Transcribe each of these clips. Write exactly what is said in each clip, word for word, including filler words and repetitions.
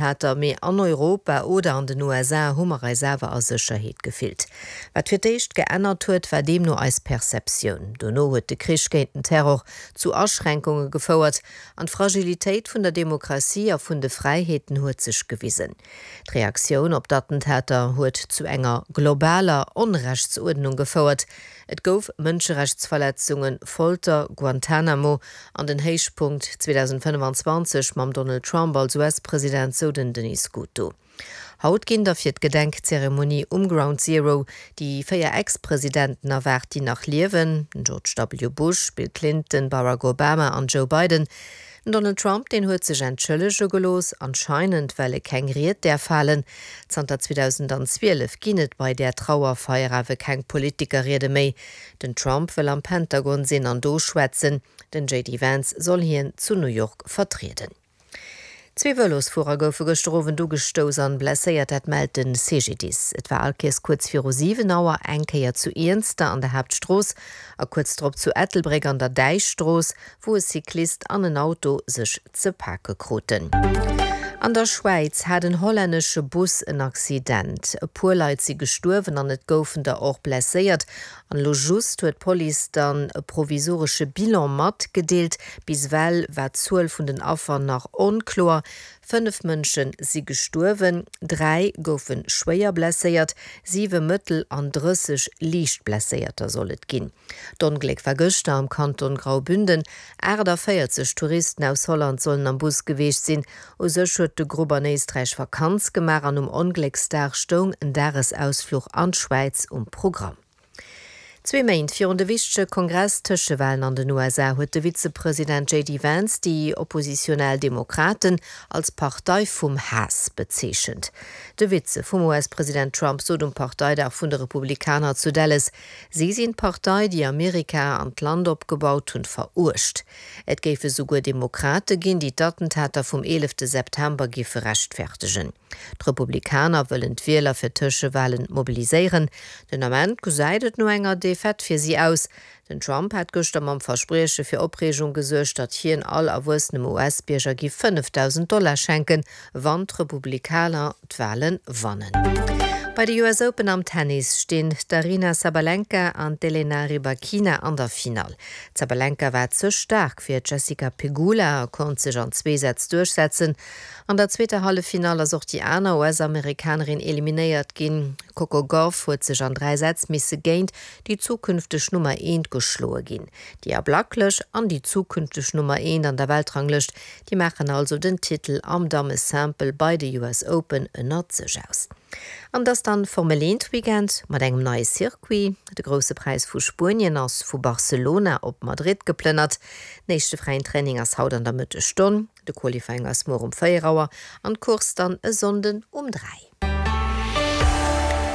Attentater, mee an Europa oder an den U S A hu mer eis awer a Sécherheet gefillt. Wat fir d'éischt geännert huet, war deemno eis Perceptioun. Dono huet de Krich géint den Terror zu Aschränkunge gefouert an d'Fragilitéit vun der Demokratie a vun de Fräiheeten huet sech gewisen. D'Reaktioun op d'Attentater huet zu enger globaler Onrechtsuerdnung gefouert. Et gouf Mënscherechtsverletzungen, Folter, Guantanamo an den Héichpunkt zweedausendfënnefanzwanzeg mam Donald Trump als U S-President, sou den Denis Scuto. Haut ginn da fir d'Gedenkzeremonie um Ground Zero déi véier Ex-Presidenten erwaart, déi nach liewen, den George W. Bush, Bill Clinton, Barack Obama an Joe Biden. Den Donald Trump, deen huet sech entschëllege gelooss, anscheinend well e keng Ried däerf halen. Zanter zweedausendzwielef ginn et bei där Trauerfeier awer keng Politikerriede méi. Den Trump wëll am Pentagon sinn an do schwätzen, den J D Vance soll hien zu New York vertrieden. Zwee Vëlosfuerer goufe gëschter Owend ugestouss an blesséiert, dat mellt de C G D I S. Et war allkéiers kuerz viru siwen Auer, eng Kéier zu Iernster an der Haaptstrooss a kuerz drop zu Ettelbréck an der Däichstrooss, wou e Cyclist an en Auto sech ze pake kruten. An der Schwäiz hat en hollännesche Bus en Accident. E puer Leit si gestuerwen an et goufen der och blesséiert. An elo just huet d'Police dann e provisoresche Bilan matgedeelt. Bis ewell war d'Zuel vun den Affer nach onkloer. Fënnef Mënsche si gestuerwen, dräi goufe schwéier blesséiert, siwe mëttel an drësseg liicht Blesséierter soll et ginn. D'Ongléck war gëschter am Kanton Graubünden. achtannvéierzeg Touristen aus Holland sollen am Bus gewiescht sinn. U sech huet de Grupp an Éisträich Vakanz gemaach an um Onglécksdag stoung en Dagesausfluch an d'Schwäiz um Programm. Zwee Méint virun de wichtege Kongress-Tëschewalen an den U S A huet de Vizepresident J D Vance déi oppositionell Demokraten als Partei vum Haass bezeechent. De Vize vum U S-President Trump sot um Parteidag vun de Republikaner zu Dallas, si sinn d'Partei, déi Amerika an d'Land opgebaut hunn, veruecht. Et géife souguer Demokrate ginn, déi d'Attentater vum eelefte September géife rechtfäerdegen. D'Republikaner wëllen d'Wieler fir d'Tëschewalen mobiliséieren. Den Ament gesäit et no enger Defaite fir si aus. Den Trump hat gëschter mam Versprieche fir Opreegung gesuergt, datt hien all erwuessenem U S-Bierger géif fënnefdausend Dollar schenken, wann d'Republikaner d'Wale wannen. Bei de U S Open am Tennis stinn d'Aryna Sabalenka an d'Elena Rybakina an der Finall. D'Sabalenka war ze staark fir d'Jessica Pegula a konnt sech an zwee Sätz duerchsetzen. An der zweeter Halleffinall ass och déi aner U S-Amerikanerin eliminéiert ginn. D'Coco Gauff huet sech an dräi Sätz misse géint déi zukünfteg Nummer eent geschloe ginn. Déi ablacklech an déi zukünfteg Nummer eent an der Weltranglëscht, déi maachen also den Titel am Damme-Simple bei de U S Open ënnert sech aus. An et ass dann Formel eent Weekend mat engem neie Circuit. De Grousse Präis vu Spuenien ass vu Barcelona op Madrid geplënnert. Den éischte fräien Training ass haut an der Mëttesstonn. De Qualifying ass muer um véier Auer an d'Course dann e Sonnden um dräi.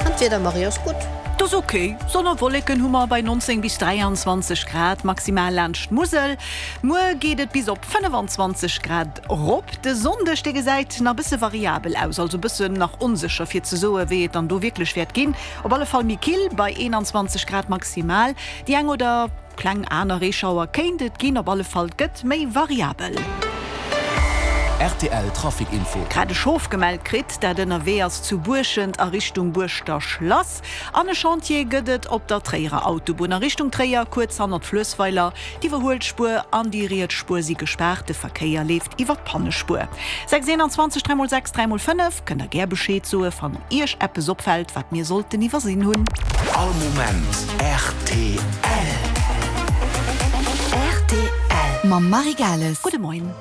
An d'Wieder, Marie, ass gutt. Dat ass ok. Sonn a Wolleken hu mer bei nonzéng bis dräianzwanzeg Grad maximal laanscht d'Musel. Muer geet et bis op fënnefan zwanzeg Grad rop. De Sonndeg, dee gesäit nach bësse variabel aus, also bëssen nach onsécher fir ze soe wéi et dann do wierklech wäert ginn. Op alle Fall méi kill bei eenanzwanzeg Grad maximal. Déi eng oder kleng aner Reeschauer kéint et ginn, op alle Fall gëtt méi variabel. R T L Trafic Info. Grad e Schof gemellt kritt, dat ënnerwee ass zu Buerschent a Richtung Buerschter Schlass. An e Chantier gëtt et op der Tréierer Autobunn a Richtung Tréier, kuerz hannert Fluessweiler. D'Iwwerhuelspuer an déi riets Spuer si gespaart, de Verkéier leeft iwwer d'Pannespuer. sechs eenanzwanzeg dräi mol sechs dräi mol fënnef, kënnt der gär Bescheed soe wann Iech eppes opfält, wat mir sollten iwwersinn hunn. All Moment R T L. R T L. Mam Marie Gales. Gudde Moien.